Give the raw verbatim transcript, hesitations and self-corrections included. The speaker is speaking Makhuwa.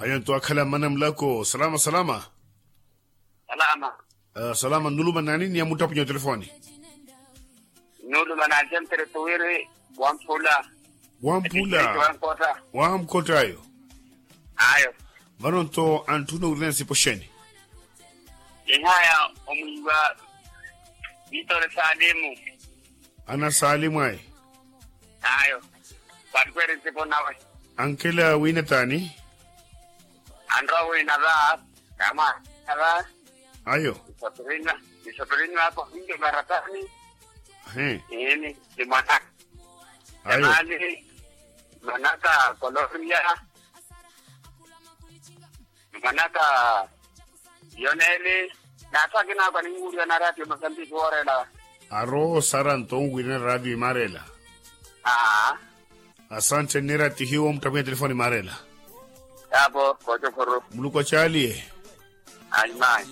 Ayo nto akhala mmana mulako salama salama. Salama. Salama nuluma nani ni amuttapunya otelefoni? Nuluma na aljantere tuwiri. Wamphula. Wamphula. Wamkhotta. Wamkhotta ayo. Ayo. Vano nto antthuna owirina nsipo xeni? Ihaya omwiiwa. Vitore salimu. Ana salimu ayi. Ayo. Vankweri nsipo nawe. Ankela wina tani? Anrowa wina va. Kama va. Ayo. Isopirinwa isopirinwa ako vinjo maratani. He. Ini ni mwanaka. Ayo. Mwanaka koloria. Mwanaka yoneli. Naathu akinakwa ninwuriwa na ratio masambiki woorela. Arowa osara nto onwirina ratio imarela. Aa. Asante nneera tihiwo muttapunya telefoni imarela. Yaapo koocokhoro. Muluku acaaliye. Aimai.